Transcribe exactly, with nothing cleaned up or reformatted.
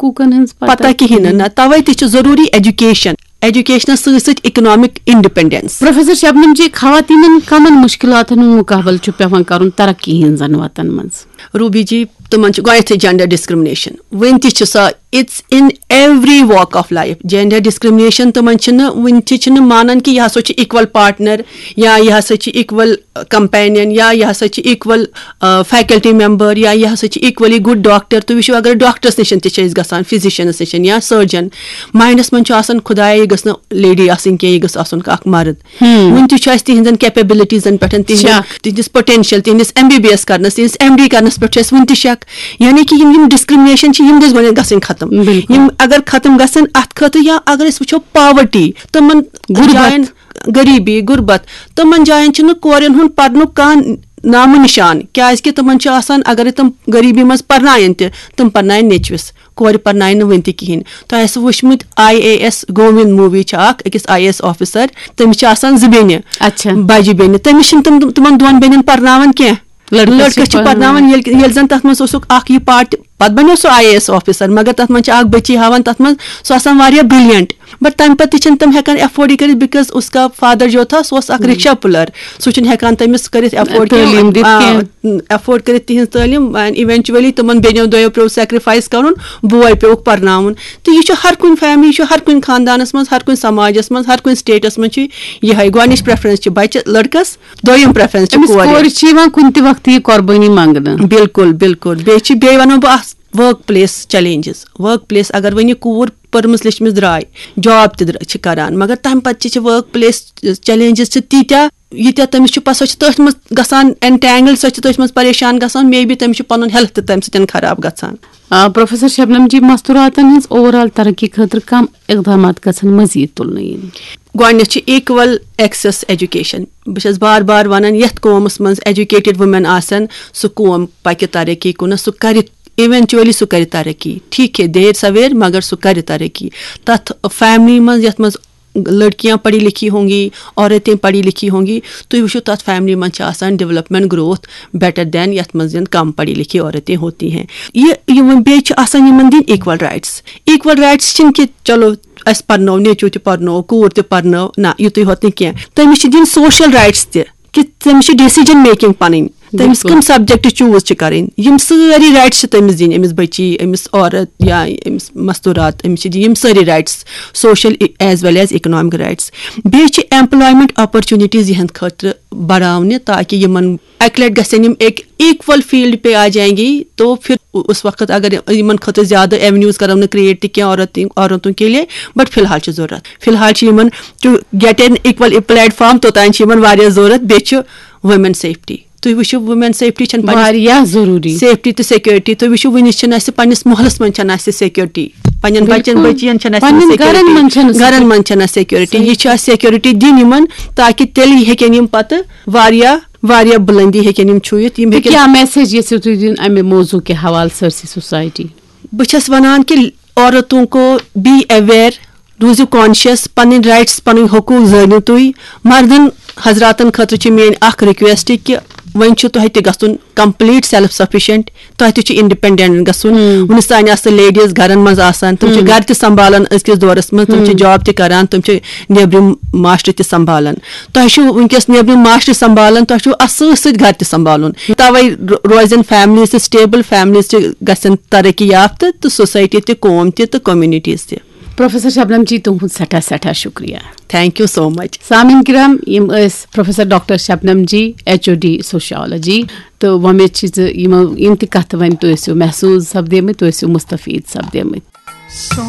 حقوٗقن ہٕنٛز پتہ۔ پتہ کِہیٖنۍ نہٕ۔ نہ، توے تہِ چھُ ضروٗری ایجوکیشن، ایجوکیشنس سۭتۍ سۭتۍ اکنامک انڈیپینڈنس۔ پروفیسر شبنم جی، خواتینن کمن مشکلاتن ہُنٛد مقابلہٕ چھُ پیوان کرُن ترقی ہٕنٛزن وتن منٛز؟ روبی جی، تِمن چھُ گۄڈٕنیتھٕے جینڈر ڈسکرمنیشن، وُنہِ تہِ چھِ سۄ، it's in every walk of life، gender discrimination. تِمن چھِنہٕ، وُنہِ تہِ چھِنہٕ مانان کہِ یہِ ہسا چھُ اِکول پارٹنر، یا یہِ ہسا چھُ اِکول کمپینین، یا یہِ ہسا چھُ اِکول فیکلٹی ممبر، یا یہِ ہسا چھُ اِکولی گُڈ ڈاکٹر۔ تُہۍ وٕچھِو، اگر ڈاکٹرس نِش تہِ چھِ أسۍ گژھان، فزیشنس نِش یا سرجن، ماینڈس منٛز چھُ آسان، خدایا، یہِ گٔژھ نہٕ لیڈی آسٕنۍ کینٛہہ، یہِ گٔژھ آسُن اکھ مرد۔ وُنہِ تہِ چھُ اَسہِ تِہنٛزن کیپیبلٹیٖزن پٮ۪ٹھ، تِہنٛدٮ۪ن، شک۔ تِہنٛدِس پوٹینشل، تِہنٛدِس ایم بی بی ایس کرنس، تِہنٛدِس ایم ڈی کرنس پٮ۪ٹھ چھُ اَسہِ وُنہِ تہِ شک۔ یعنی کہِ یِم، یِم ڈسکرمنیشن چھِ، یِم گٔژھ گۄڈٕنٮ۪تھ گژھٕنۍ ختم۔ بِلکُل۔ یِم اگر ختم گژھن، اتھ خٲطرٕ، یا اگر أسۍ وٕچھو پاورٹی، تِمن غُربت۔ جاین، غریبی، غُربت، تِمن جاین چھُنہٕ کورٮ۪ن ہُنٛد پرنُک کانٛہہ نامو نشان، کیازِ کہِ تِمن چھُ آسان، اگرے تِم غریبی منٛز پرناون تہِ، تِم پرناون نیٚچوِس، کورِ پرناوِ نہٕ وُنہِ تہِ کِہینۍ۔ تۄہہِ آسہِ وٕچھمُت I A S Govinda movie چھِ اکھ، أکِس آی اے ایس آفیسر، تٔمِس چھِ آسان زٕ بیٚنہِ، اچھا۔ بجہِ بیٚنہِ، تٔمِس چھِنہٕ تِم، تِمن دۄن بیٚنٮ۪ن پرناوان کینٛہہ۔ لڑکہٕ چھِ لڑکہٕ چھِ پرناوان۔ پرناوان، ییٚلہِ، ییٚلہِ زن تتھ منٛز اوسُکھ اکھ یہِ پارٹ، پتہٕ بنیو سُہ آی اے ایس آفیسر، مگر تتھ منٛز چھِ اکھ بچی ہاوان، تتھ منٛز سُہ آسان واریاہ برلینٹ، بٹ تمہِ پتہٕ تہِ چھِنہٕ تِم ہٮ۪کان ایفورڈ یہِ کٔرِتھ، بکاز اس کا فادر جو تھا، سُہ اوس اکھ رکشا پُلر، سُہ چھُنہٕ ہٮ۪کان تٔمِس کٔرِتھ ایفورڈ تعلیٖم دِتھ کینٛہہ۔ ایفورڈ کٔرِتھ تِہنٛز تعلیٖم، اینڈ ایونچولی تِمن بیٚنیو دۄیو پیوٚو سیکریفایس کرُن، بوے پیوٚوُکھ پرناوُن۔ تہٕ یہِ چھُ ہر کُنہِ فیملی، یہِ چھُ ہر کُنہِ خاندانس منٛز، ہر کُنہِ سماجس منٛز، ہر کُنہِ سٹیٹس منٛز چھُ یِہے، گۄڈٕنِچ پریفرنس چھِ بچہِ لڑکس، دوٚیِم پریفرنس چھِ أمِس کورِ۔ کورِ چھِ یِوان کُنہِ تہِ وقتہٕ یہِ قۄربٲنی منٛگنہٕ۔ بِلکُل، بِلکُل۔ بیٚیہِ چھِ، بیٚیہِ وَنو بہٕ اَتھ work place challenges. Work place, اگر وۄنۍ یہِ کوٗر پٔرمٕژ لیٚچھمٕژ درٛاے، جاب تہِ درٛا-، چھِ کران، مگر تَمہِ پَتہٕ تہِ چھِ ؤرک پلیس چیلنجز چھِ تیٖتیٛاہ، ییٖتیٛاہ تٔمِس چھُ پَتہٕ، سۄ چھِ تٔتھۍ منٛز گژھان انٹینگل، سۄ چھِ تٔتھۍ منٛز پریشان گژھان، مے بی تٔمِس چھُ پَنُن ہیلتھ تہِ تَمہِ سۭتۍ خراب گژھان۔ آ، پروفیسر شبنم جی، مستوراتن ہٕنٛز اوور آل ترقی خٲطرٕ کم اقدامات گژھن مزید تُلنہٕ یِنۍ؟ گۄڈٕنیتھ چھِ ایکول ایکسس ایجوکیشن۔ بہٕ چھَس بار بار وَنان، یَتھ قومَس منٛز ایجوکیٹڈ وومین آسن، سُہ قوم پَکہِ ترقی کُن، سُہ کَرِ ایونچولی، سُہ کَرِ ترقی۔ ٹھیک ہے، دیر سویر، مگر سُہ کَرِ ترقی۔ تَتھ فیملی منٛز، یَتھ منٛز لڑکیاں پڑھی لکھی ہوں گی، عورتیں پڑھی لکھی ہوں گی، تُہۍ وٕچھِو، تَتھ فیملی منٛز چھِ آسان ڈیولپمنٹ گروتھ بیٹر دین یَتھ منٛز زَن کم پڑھی لکھی عورتیں ہوتی ہیں۔ یہِ، یِمن بیٚیہِ چھِ آسان یِمن دِنۍ ایکول رائٹس۔ ایکول رائٹس چھِنہٕ کہِ چلو، اَسہِ پرنٲو، نیٚچوٗ تہِ پرنٲو، کوٗر تہِ پرنٲو، نہ، یُتُے ہوت نہٕ کینٛہہ۔ تٔمِس چھِ دِنۍ سوشل رائٹس تہِ، کہِ تٔمِس چھِ ڈیسیجن میکنگ پنٕنۍ، تٔمِس بِلکُل۔ کٕم سبجیکٹ چوٗز چھِ کرٕنۍ، یِم سٲری رائٹس چھِ تٔمِس دِنۍ، أمِس بچی، أمِس عورت یا أمِس مستورات، أمِس چھِ دِنۍ یِم سٲری رائٹس، سوشل ایز ویل ایز اکنامک رائٹس۔ بیٚیہِ چھِ ایمپلایمنٹ اپرچونٹیز یِہنٛد خٲطرٕ بڑاونہِ، تاکہِ یِمن اکہِ لٹہِ گژھن یِم ایک ایکول فیلڈ پہ آ جائیں گی، تو پھر اس وقت اگر یِمن خٲطرٕ زیادٕ ایونیوز کرو نہٕ کریٹ تہِ کینٛہہ عورت، عورتوں کے لیے، بٹ فی الحال چھِ ضروٗرت۔ فی الحال چھِ یِمن to get an equal platform، توٚتام چھِ یِمن واریاہ ضروٗرت۔ بیٚیہِ چھِ وومین سیفٹی۔ تُہۍ وٕچھِو، وومین سیفٹی چھَنہٕ پننِس، واریاہ ضروٗری۔ سیفٹی تہٕ سیکورٹی۔ تُہۍ وٕچھِو، وٕنِس چھَنہٕ اَسہِ پننِس محلس منٛز چھَنہٕ اَسہِ سیکورٹی، پننٮ۪ن بچن بِلکُل۔ بچین چھَنہٕ اَسہِ پننٮ۪ن سیکورٹی۔ گرن منٛز چھَنہٕ گرن سیکورٹی۔ منٛز چھَنہٕ اَسہِ سیکورٹی۔ یہِ چھِ اَسہِ سیکورٹی دِنۍ یِمن، تاکہِ تیٚلہِ ہیٚکن یِم پتہٕ واریاہ، واریاہ بُلندی ہیٚکن یِم چھُوِتھ۔ یِم تہٕ ہیٚکن کیٛاہ میسج یژھِو تُہۍ دِنۍ امہِ موضوع کہِ حوالہٕ سٲرسٕے سوسایٹی؟ بہٕ چھَس وَنان کہِ عورتوں کو بی اویئر، روٗزِو کانشیس، پَنٕنۍ رائٹس، پَنٕنۍ حقوٗق زٲنِو تُہۍ۔ مردن حضراتن خٲطرٕ چھِ میٲنۍ اکھ ریکویسٹ کہِ وۄنۍ چھُ تۄہہِ تہِ گژھُن کمپلیٹ سیلف سفیشنٹ، تۄہہِ تہِ چھُ انڈیپینڈنٹ گژھُن۔ وُنِس تانۍ آسہٕ لیڈیز گرن منٛز آسان، تِم چھِ گرٕ تہِ سنبھالان أزکِس دورس منٛز، تِم چھِ جاب تہِ کران، تِم چھِ نیبرِم معاشرٕ تہِ سنبھالان۔ تۄہہِ چھُو وٕنکیٚس نیبرِم معاشرٕ سنبھالان، تۄہہِ چھُو اَتھ سۭتۍ سۭتۍ گرٕ تہِ سنبھالُن۔ توے رو-، روزن فیملیز تہِ سٹیبل، فیملیز تہِ گژھن ترقی یافتہٕ تہٕ سوسایٹی تہِ، قوم تہِ تہٕ کمیونٹیز تہِ۔ پروفیسر شبنم جی، تُہُنٛد سٮ۪ٹھاہ سٮ۪ٹھاہ شُکریہ۔ Thank you so much. سامعین کرام، یِم ٲسۍ پروفیسر ڈاکٹر شبنم جی، ایچ او ڈی سوشیالوجی، تہٕ وۄمید چھِ زِ یِمو یِم تہِ کتھٕ وۄنۍ تُہۍ ٲسِو محسوٗس سپدیمٕتۍ، تُہۍ ٲسِو مستفید سپدیمٕتۍ۔